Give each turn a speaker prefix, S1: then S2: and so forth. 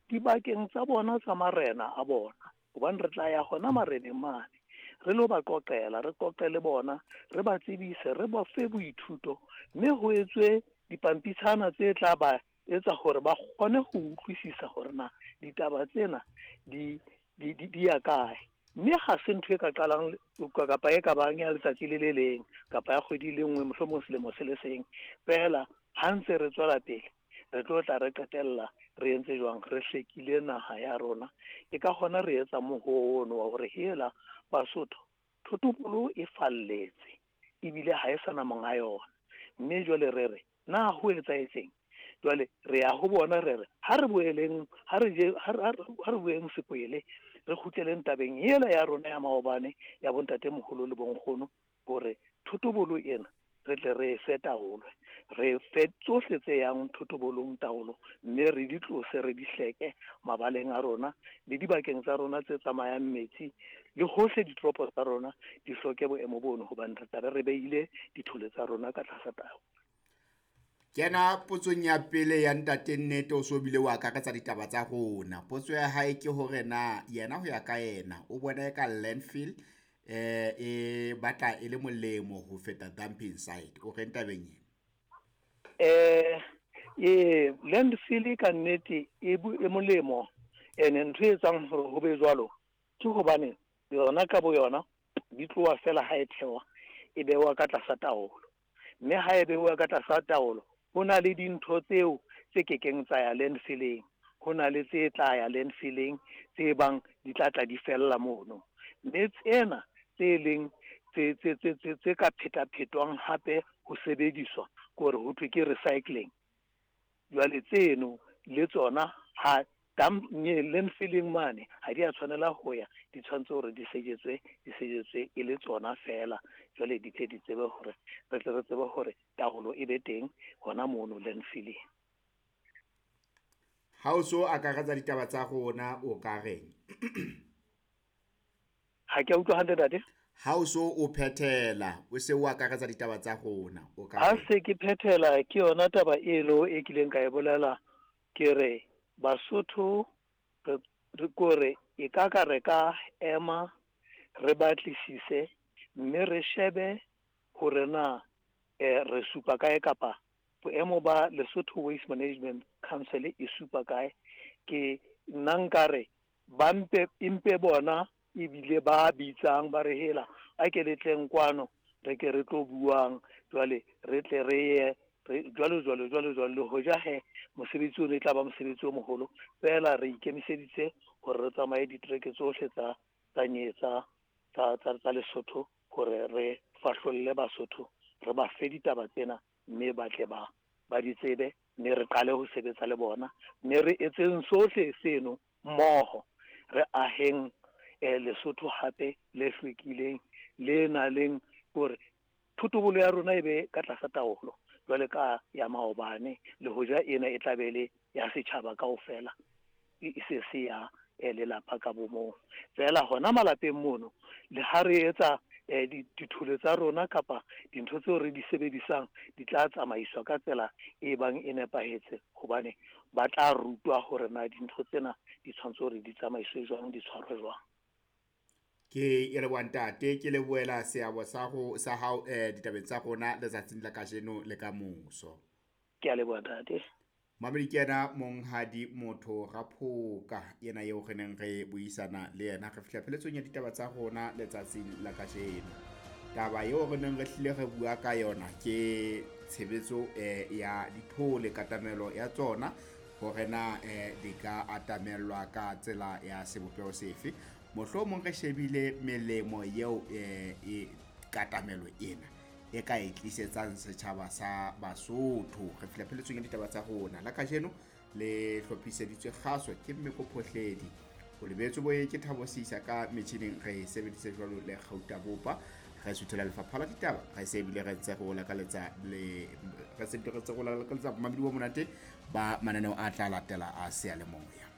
S1: dibakeng tsa bona tsa marena a bona, hobane re tla ya hona mareneng mane re lo ba qoqela, re qoqe le bona, re ba tsebise, re ba fe boithuto, mme ho etswe dipampitshana tse tla ba etsa hore ba kgone ho utlwisisa hore na ditaba tsena di di di ya kae. Mme ha se ntho e ka qalang kapa e ka bang ya letsatsi le le leng kapa ya kgwedi le nngwe, mohlomong selemo se le seng feela. Ha ntse re tswela pele, re tlo tla re qetella re entse jwang, re hlekile naha ya rona. Ke ka hona re etsa mohoo ono wa hore hela Basotho, thotobolo e falletse ebile ha e sa na monga yona. Mme jwale re re, na ho etsahetseng? Jwale re ya ho bona, re re ha re boeleng, ha re je, ha re boeng sekwele, re kgutleleng tabeng ela ya rona ya maobane ya bontatemoholo le bonkgono, hore thotobolo ena re tle re fe taolo, re fe tsohle tse yang thotobolong taolo, mme re di tlose, re di hleke mabaleng a rona le dibakeng tsa rona tse tsamayang metsi, le hohle ditoropo tsa rona di hloke boemo bono, hobane re tlabe re beile dithole tsa rona ka tlasa taolo.
S2: Kena potsong ya pele ya ntate Nnete, o so bile o akaretsa ditaba tsa rona. Potso ya hae ke hore na yena ho ya ka yena o bona e ka landfill e batla e le molemo ho feta dumping site. O reng tabeng e?
S1: Landfill ka nnete e molemo, ene ntho e etsang hore ho be jwalo ke hobane yona ka bo yona di tloha fela ha e thewa, e bewa ka tlasa taolo. Mme ha e bewa ka tlasa taolo, ho na le dintho tseo tse kekeng tsa ya landfilling, ho na le tse tla ya landfilling tse bang di tla tla di fella mono. Mme tsena tse leng tse ka phetaphetwang hape ho sebediswa, ke hore ho thwe ke recycling. Jwale tseno le tsona ha landfilling mane ha di a tshwanela ho ya, di tshwanetse hore di sejetswe, di sejetswe e le tsona fela. Jwale di tle di tsebe hore re tle re tsebe hore taolo e be teng hona mono landfilling.
S2: Ha o so akaretsa ditaba tsa rona, o ka reng?
S1: Ha ke a utlwa hantle, ntate.
S2: Ha o so o phethela, o se o akaretsa ditaba tsa rona, o ka
S1: Ha se ke phethela, ke yona taba eno e kileng ka e bolela, ke re Basotho re kore e ka ka re ka ema re batlisise mme re shebe hore na re supa kae, kapa boemo ba Lesotho Waste Management Council e supa kae. Ke nna nkare ba mpe, empe bona ebile ba bitsang ba re hela a ke le tleng kwano, re ke re tlo buang jwale, re tle re ye jwalo jwalo jwalo jwalo. Le hoja he mosebetsi ono e tla ba mosebetsi o moholo, fela re ikemiseditse hore re tsamaye ditereke tsohle tsa tsa tsa tsa tsa Lesotho, hore re fahlolle Basotho, re ba fe ditaba tsena, mme ba tle ba ba di tsebe, mme re qale ho sebetsa le bona, mme re etseng sohle seno mmoho, re aheng Lesotho hape le hlwekileng, le nang leng hore thotobolo ya rona e be ka tlasa taolo jwale ka ya maobane, le hoja ena e tla be le ya setjhaba kaofela, e se se ya lelapa ka bomong fela. Hona malapeng mono, le ha re etsa dithole tsa rona kapa dintho tseo re di sebedisang, di tla tsamaiswa ka tsela e bang e nepahetse, hobane ba tla rutwa hore na dintho tsena di tshwanetse hore di tsamaiswe jwang, di tshwarwe jwang.
S2: Ke e leboha ntate, ke lebohela seabo sa ho sa hao ditabeng tsa rona letsatsing la kajeno le ka moso.
S1: Ke a leboha ntate.
S2: Mamedi, ke yena monghadi Motho Raphoka, yena eo re neng re buisana le yena. Re fihla pheletsong ya ditaba tsa rona letsatsing la kajeno. Taba eo re neng re hlile re bua ka yona ke tshebetso ya dithole, katamelo ya tsona, hore na di ka atamellwa ka tsela ya sebopeho sefe. Mohlomong re shebile melemo eo e katamelo ena e ka e tlisetsang setjhaba sa Basotho. Re fihla pheletsong ya ditaba tsa rona la kajeno, le hlophiseditswe kgaso ke Mmeko Phohledi, o lebetswe boye ke Thabo Sisa ka metjhining, re sebedise jwalo le Kgauta Bopa. Re suthela lefapha la ditaba, re se ebile re ntse re o lakaletsa le re se re ntse re o lakaletsa bomamedi bo monate ba mananeo a tla latela a seyalemoya.